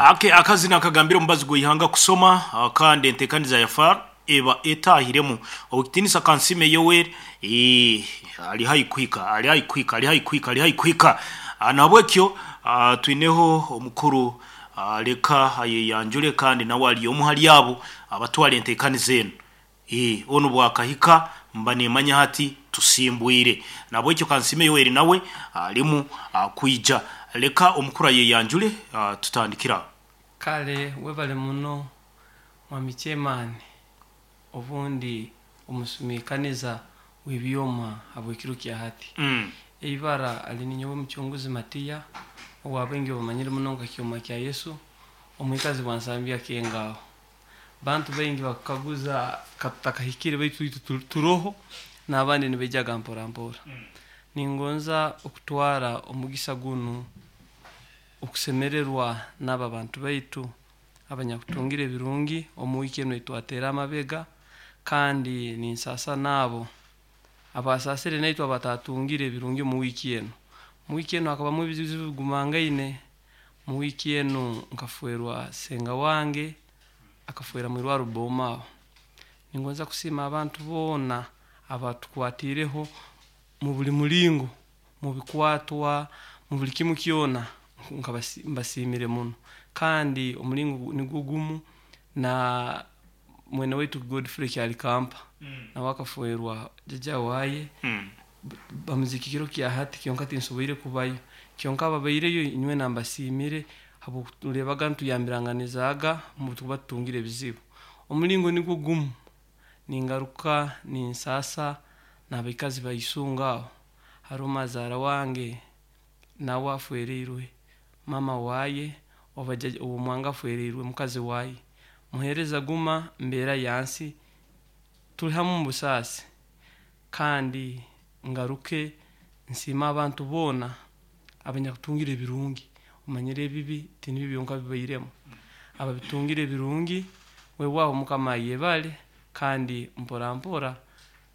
Ake akazina akagambira omubazi gw'ihanga kusoma, kandi entekaniza ya FAR eba etahiremu okitinisa Kansime Yoweri ali haihi kuhika, ali haihi kuhika, ali haihi kuhika, ali haihi kuhika. Nahabwekyo twineho omukuru, leka ayeyanjule kandi nawe ali omu hali abo abatwara entekaniza enu. Onu bwakahika mba nimanya hati tusimbwire. Nahabwekyo Kansime Yoweri nawe alimu kwija. Leka omukuru ayeyanjule, tutandikira aho. Kale webale muno mwami chairman, obundi omusumikaniza w'ebyoma habw'ekiro kya hati. Eibara ali ninyowe Mucunguzi Matiya, owabaingi bamanyire muno nka Kyoma kya Yesu, omwikazi bwa Nsambya Kengaho. Bantu baingi bakukaguza katutakahikire baitu itwe turoho n'abandi nibaijaga mpora mpora. Ningonza okutwara omugisa gunu okusemererwa n'abo abantu baitu abanyakutungire ebirungi omu wiiki enu eitwateera amabega, kandi ninsasa n'abo abasasire naitwe abatatungire ebirungi omu wiiki enu. Mu wiiki enu hakabamu ebizibu bigumangaine. Mu wiiki enu nkafwerwa senga wange, akafwera mu irwaro Boma aho. Ningonza kusiima abantu boona abatukwatireho mu buli mulingo, mu bikwatwa, mu buli kimu kyona, mbasiimire muno. Kandi omulingo nigwo gumu na mwene waitu Godfrey Kyalikampa, nawe akafwerwa jjajja waye, bamuziika ekiro kya hati kyonka tinsoboire kubayo. Kyonka ababaireyo inywena mbasiimire habw'okuturebaga ntuyambiranganizaaga mu tukuba tutungire ebizibu. Omulingo nigwo gumu ningaruka ninsasa n'abaikazi ba Isunga aho. Haroho mazaara wange nawe afwereirwe mama waye, oba omwanga afwereirwe mukazi waye. Muheereza guma mbeera yansi, tuli hamu mu busaasi. Kandi ngaruke nsiime abantu boona abanyakutungire ebirungi. Omanyire ebibi tinibyo byonka bibairemu. Ababitungire ebirungi, weewaawo Mukama ayebale, kandi mpora mpora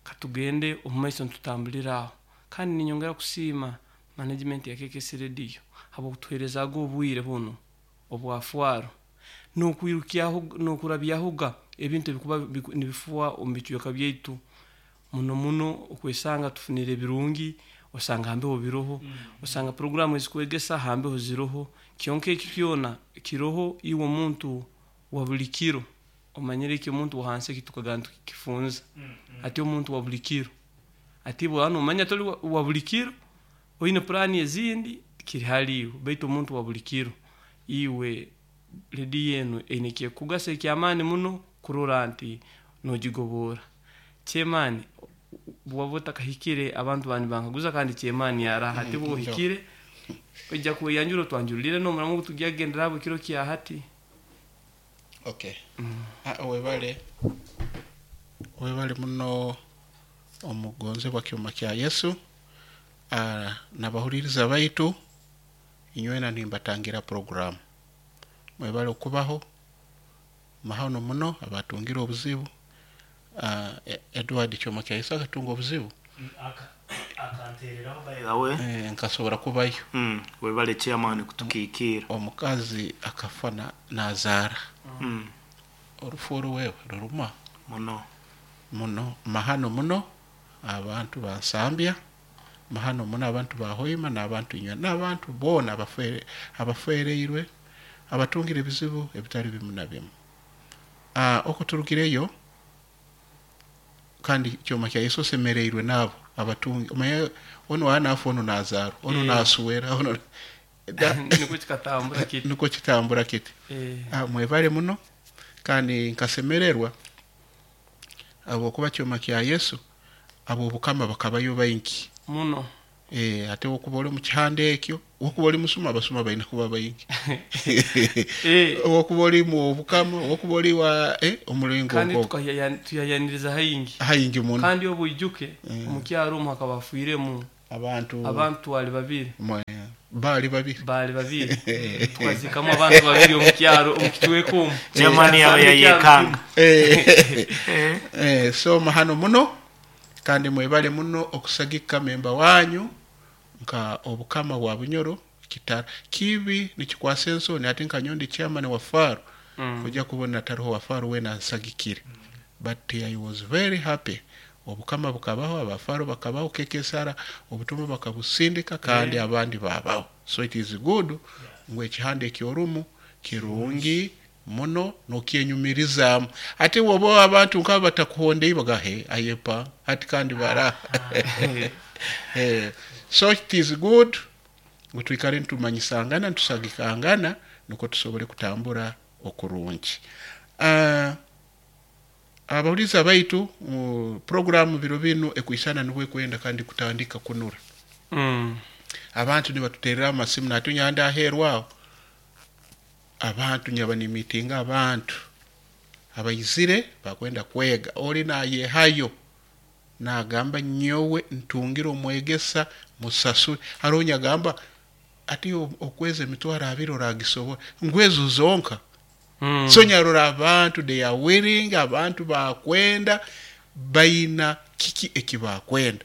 katugende omu maiso nitutambulira aho. Kandi ninyongera kusiima management ya KKC Radio habw'okutuheerezaaga obwire bunu obwa fwaro n'okurabyahoga ebintu ebikuba nibifuha omu bicweka byaitu muno muno okwesanga tufunire ebirungi, osanga hambeho biroho, osanga puroguramu ezikwegesa hambeho ziroho, kyonka eki kyona kiroho iwe omuntu wa buli kiro, omanyire eki omuntu wa hansi eki tukaga nitukifunza, ati omuntu wa buli kiro, ati bw'oba nomanya toli wa buli kiro, oine puraani ezindi kiri hali iwe, baitu omuntu wa buli kiro iwe rediyo enu eine ekyekukugasa eky'amaani muno kurora nti nogigoboora. Chairman, bw'oba otakahikire abantu bandi nibankaguza kandi chairman araha, hati obu ohikire oija kweyanjura otwanjulire n'omuramu ogu tugya kugenderaho ekiro kya hati. Okay. Webale, webale muno omugonzebwa Kyoma kya Yesu, n'abahuliriza baitu inywena nimbatangira puroguramu. Mwebale okubaho, mahano muno abatungire obuzibu. Edward Kyoma kya Yesu akatunga obuzibu. Akantereraho by the way. Nkasobora kubayo. Webale chairman kutukiikira. Omukazi akafa nazaara. Orufu oru wewe ruruma muno muno, mahano muno abantu ba Nsambya, mahano muno abantu ba Hoima n'abantu inywe n'abantu boona abafwereirwe, abatungire ebizibu ebitali bimu na bimu. Oku turugireyo kandi Kyoma kya Yesu osemereirwe n'abo abatungi, omanye onu anafa onu nazaarwa, onu naswera, onu Nikwo kikatambura kiti. Nikwo kitambura kiti. Mwebale muno kandi nkasemererwa habwokuba Kyoma kya Yesu ab'obukama bakabayo baingi. Muno. Ate wokuba oli omu kihanda ekyo, wokuba oli musuma, abasuma baine kuba baingi. Wokuba oli mu bukama, wokuba oli wa omulingo Kandi ogwo. Tukayayaniriza haingi. Haingi muno. Kandi obu oijuke, omu kyaro omu hakaba hafiiremu abantu abantu twali babiri. Baali babiri. Baali babiri. Tukazikamu abantu babiri omu kyaro, omu kicweka omu. Chairman yawe yayekanga. So mahano muno kandi mwebale muno okusagika memba wanyu nka obukama bwa Bunyoro. Kitara kibi nikikwasa ensoni ati nkanyowe ndi chairman wa Faro, kujya kubona taroho wa Faro wena ansagikire. But I was very happy, obukama bukabaho, abafaro bakabaho, kekesara obutumwa bakabusindika kandi abandi babaho. So it is good ngu ekihanda ekyorumu kirungi muno nokyenyumirizaamu. Ati woba abantu nkaba batakuhondei bagahe ayepa ati kandi bara. So it is good ngu twikare nitumanyisangana, nitusagikangana, nukwo tusobole kutambura okurungi. Abahuriza baitu, programu biro binu ekwisana nibwo ekwenda kandi kutandika kunura. Abantu nibatuterera amasimu natunya aheeru aho, abantu nyaba nimitinga abantu abaizire bakwenda kwega, ori nayehayo nagamba nyowe ntungire omwegesa musasure. Haroho nyagamba ati okwezi 20,000 oragisobora ngwezo zonka. So nyarora abantu they are willing, abantu bakwenda baina kiki ekibakwenda.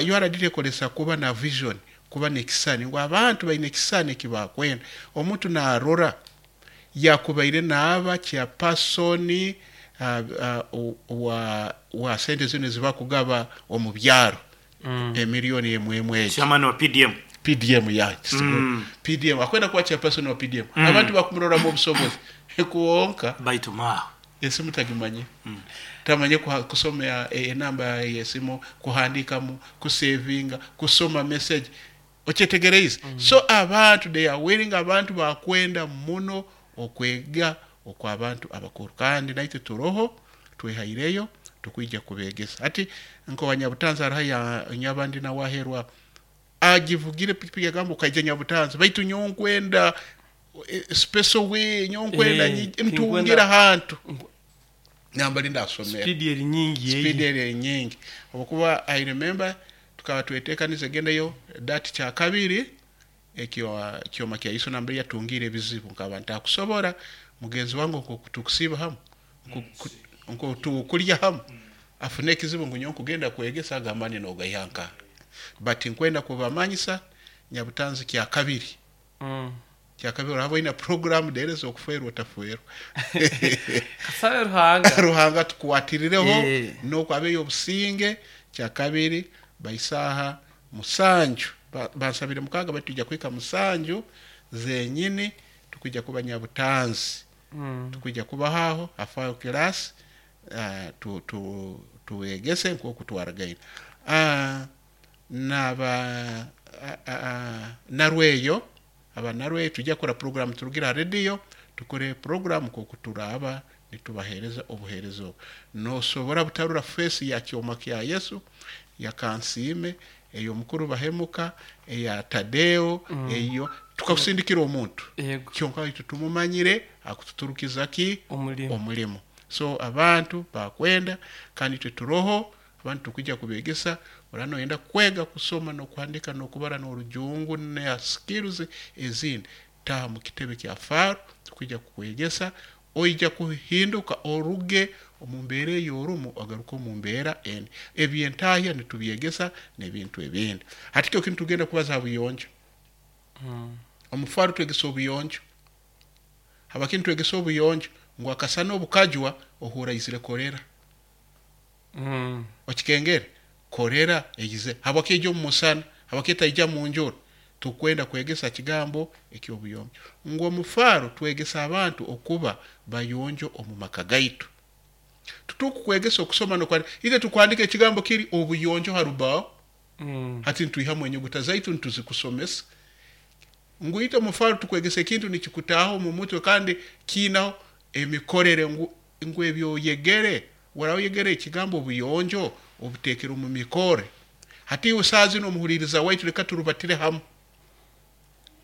URD ekolesa kuba na vision, kuba nekisani ngu abantu baina ekisani ekibakwenda. Omuntu narora yakubaire naaba chairperson wa sente zino ezibakugaba omu byaro, emiliyoni emwe emwe egi. Chairman wa PDM. PDM ya PDM akwenda kuba chairperson wa PDM. Abantu bakumuroramu obusobozi kuwonka baitu ma esimu tagimanye, tamanye kusoma enamba yesimu, kuhandikamu, kusevinga, kusoma message, okyetegereize. So abantu they are willing, abantu bakwenda muno okwega okw'abantu abakuru, kandi naitwe turoho twehaireyo tukwija kubegesa. Ati nko Nyabutanzi hariho ya nyabandi nawaherwa agivugire pikipiki agamba ukaija Nyabutanzi baitu nyonkwenda special way nyonkwenda ntungira hantu namba linda asomera speed eri nyingi speed eri nyingi. Obukuba I remember tukaba twetekanize gendayo dati kya kabiri ekyo kyoma kya iso namba yatungire ebizibu nkaba ntakusobora mugenzi wangu nkokutukusiba hamu nkotukulya hamu afune ekizibu ngu nyowe nkugenda kwegesa agamba ni nogaihanka. But nkwenda kubamanyisa Nyabutanzi kya kabiri. Kya kabiri oraba oyina program dereza okuferwa otaferwa. Kasabe Ruhanga. Ruhanga tukwatirireho nokwabeyo obusinge. Kya kabiri baisaha 7 bansabire 6 batuja kwika 7 zenyini tukwijja kuba Nyabutanzi. Tukwijja kubahaho afayo class tuwegese nk'okutwaragaine. Naba Narweyo, aba Narweyo tujja kukora program turugira radio, tukore program nk'okuturaba nitubahereza obuheereza obu. Nosobora butarura face ya kyoma kya Yesu, ya Kansiime, ey'omukuru Bahemuka, eya Tadeo, eyo tukakusindikira omuntu. Kyonka itwe tumumanyire akututurukiza ki omulimo. So abantu bakwenda kandi itwe turoho abantu tukwijja kubegesa. Orano oyenda kwega kusoma n'okuhandika n'okubara n'orujungu na skills ezindi, taha mu kitebe kya Faro tukwija kukwegesa, oija kuhinduka oruge omu mbeera ey'orumu ogaruke omu mbeera endi. Ebyentahya nitubyegesa n'ebintu ebindi. Hati kyo kintu tugenda kubaza ha buyonjo. Omu Faro twegesa obuyonjo. Habakini twegesa obuyonjo ngu akasana obukajwa ohura izire kolera. Okikengere kolera eyize habwaki ejo omu musana, habwaki etaija mu njura. Tukwenda kwegesa kigambo eky'obuyonjo ngu omu Faro twegesa abantu okuba bayonjo omu maka gaitu. Tutukukwegesa okusoma n'okwandika, itwe tukwandika ekigambo kiri obuyonjo ha rubaaho. Hati nitwihamu enyuguta zaitu nituzikusomesa ngu itwe omu Faro tukwegesa ekintu nikikutaaho omu mutwe kandi kiinaho emikorere ngu ebyoyegere waraoyegere ekigambo obuyonjo obutekere omu mikore. Hati iwe saaha zinu omuhuliriza waitu leka turubatire hamu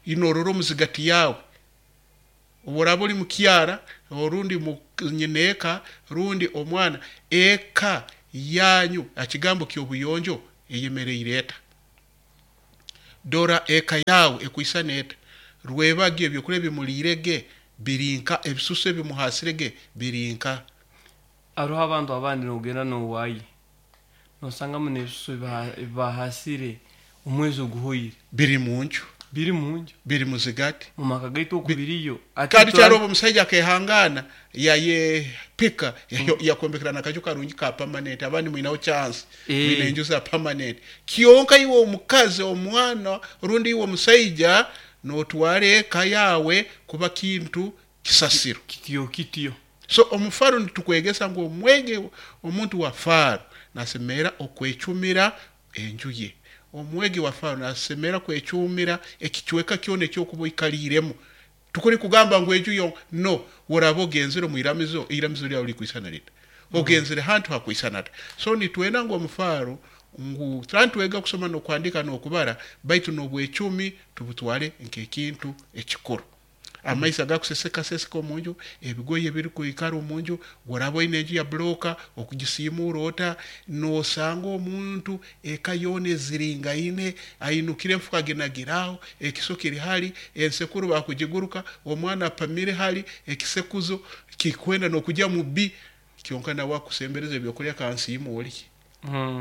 inorora omuzigati yawe obu oli mukyara orundi nyineeka rundi omwana, eka yanyu ekigambo ky'obuyonjo eyemereire eta. Dora eka yawe ekwisana eta, rwebagyo ebyokulya bimuliirege birinka, ebisusu ebimuhasirege birinka. Hariho abantu abandi nogenda nowayi nosangamu n'ebisusu ebibahasire omwezi oguhoire biri munju. Biri munju. Biri muzigati. Mumaka gaitu okubiriyo. Kandi kyaro omusaija akehangana yayepika yakombekera nakaju karungi ka permanent, abandi mwinaho chance, mwina enju za permanent. Kyonka iwe omukazi, omwana, rundi iwe omusaija notwara eka yawe kuba kintu kisasiro. Kityo kityo. So omufaro nitukwegesa ngu omwege omuntu wa faro nasemera okwecumira enju ye. Omwegi wa faro nasemera kwecumira ekicweka kyona ekyokuba oikaliremu. Tukuri kugamba ngu enju yo no woraba ogenzere omu iramizo, iramizo lyawe likwisana lita, ogenzere hantu hakwisana ata. So nitwenda ngu omufaro ngu twega kusoma n'okuhandika n'okubara, baitu n'obwecumi tubutware nk'ekintu ekikuru. Amaizi agakuseseka seseka omunju, ebigoye ebirikwikara omunju, woraba oine enju ya buroka okugisiimuura ota, nosanga omuntu eka yoona eziringaine, ainukire enfuka aginagiraho, ekiso kiri hali, ensekuru bakugiguruka, omwana apamire hali, ekisekuzo kikwenda n'okujya mu bbi, kyonka nawe akusembereza ebyokulya kansiima olye.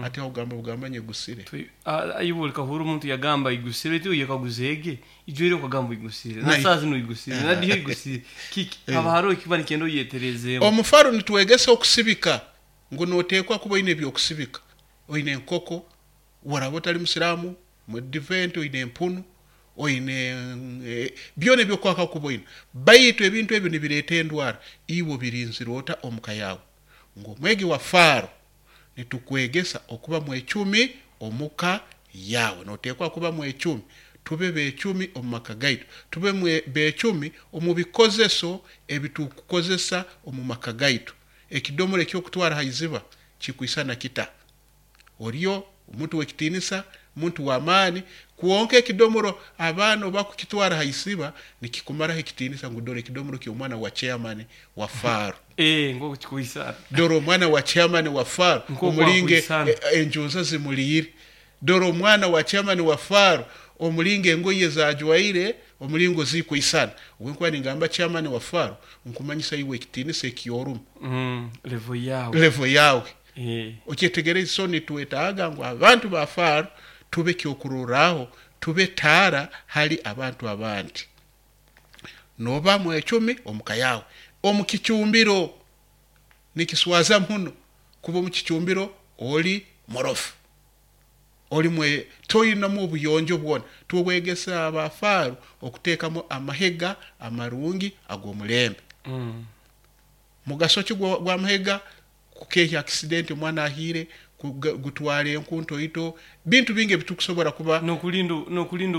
Ati aho ogamba bugamba nyegusire. Iwe olikahura omuntu yagamba igusire, baitu iwe yekaguzeege, ijwire okagamba igusire, na saa zinu igusire, na diho igusire. Kiki haba haroho ekiba nikyenda oyeterezeemu. Omufaro nitwegesa okusibika, ngu noteekwa kuba oine ebyokusibika, oine enkoko, woraba otali musiraamu, mudiventi oine empunu, oine byona ebyokwaka kuba oine, baitu ebintu ebyo nibireeta endwara, iwe obirinzire ota omuka yawe. Ngu omwegi wa faro nitukwegesa okuba mwecumi omuka yawe, noteekwa kuba mwecumi. Tube becumi omu maka gaitu, tube becumi omu bikozeso ebitukukozesa omu maka gaitu. Ekidomora ekyokutwara ha iziba kikwisana kita? Oriyo omuntu w'ekitiinisa, omuntu w'amaani, kwonka ekidomoro abaana bakukitwara ha iziba nikikumaraho ekitiinisa ngu dora ekidomoro ky'omwana wa chairman wa faro. Nk'oku kikwisana. Dora omwana wa chairman wa faro omulinge enjunza zimuliire. Dora omwana wa chairman wa faro omulinge engoye zajwaire omulingo zikwisana. Obu nkuba ningamba chairman wa faro nkumanyisa iwe ekitiinisa ekyorumu. Level yawe. Level yawe. Okyetegereze. So nitwetaaga ngu abantu ba faro tube kyokurorraho, tube taara hali abantu abandi. Noba mwecumi omuka yawe. Omu kicumbiro nikiswaza muno kuba omu kicumbiro oli murofu, oli toyinamu obuyonjo bwona. Tubwegesa abafaro okuteekamu amahega amarungi ag'omulembe. Mugaso ki gw'amahega? Kukehya accident omwana ahiire, gutwara enku ntoito, bintu bingi ebitukusobora kuba nokulinda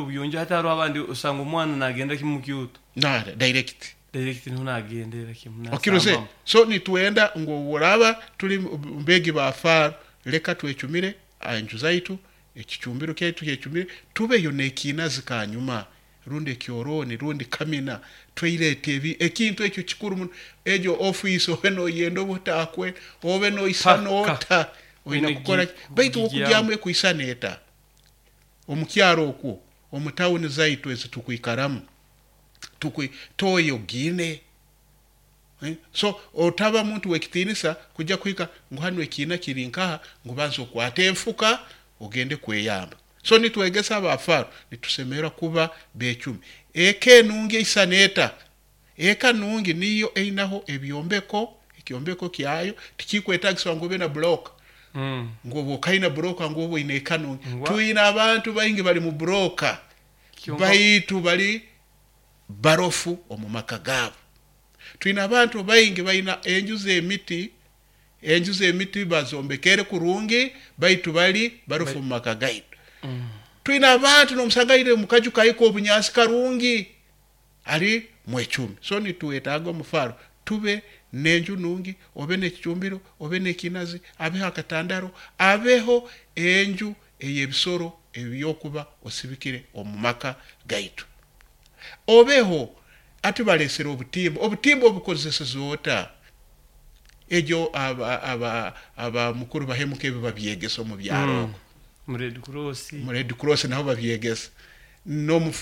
obuyonjo. Hati hariho abandi osanga omwana nagenda kimu mukyoto. Na direct. Direct niho nagendera kimu. Okiruze. So nitwenda ngu oraba tuli mbegi ba faro, leka twecumire enju zaitu, ekicumbiro kyaitu kyecumire, tubeyo n'ekinazi kanyuma, rundi ekyoroni, rundi kamina, tweirete ebi ekintu ekyo kikuru muno. Egyo ofiisi obe noyenda oba otakwe, obe noisana ota, oine kukora baitu okugyamu ekwisana eta. Omukyaro okwo, omu tawuni zaitu ezitukwikaramu, toyo giine. So otaba muntu w'ekitiinisa kujja kuhika ngu hanu ekiina kiri nkaha, ngu banza okwate enfuka ogende kweyamba. So nitwegesa abafaro nitusemera kuba becumi. Eka enungi eisana eta? Eka nungi niyo einaho ebyombeko, ekyombeko kyayo tikikwetagisibwa ngu obe na buroka. Ngu oba okaina buroka ngu oba oine eka nungi. Twine abantu baingi bali mu buroka, baitu bali barofu omu maka gaabo. Twine abantu baingi baina enju z'emiti, enju z'emiti bazombekere kurungi, baitu bali barofu omu maka gaitu. Twine abantu n'omusanga aine mukaju kaiko obunyansi karungi, ali mwecumi. So nitwetaaga omufaro tube n'enju nungi, obe n'ekicumbiro, obe n'ekinazi, abeho akatandaro, abeho enju ey'ebisoro ebyokuba osibikire omu maka gaitu. Obeho ati balesere obutimba, obutimba obukozeseze ota? Egyo aba mukuru bahemuka ebi babyegesa omu byaro. Mu Red Cross. Mu Red Cross naho babyegesa.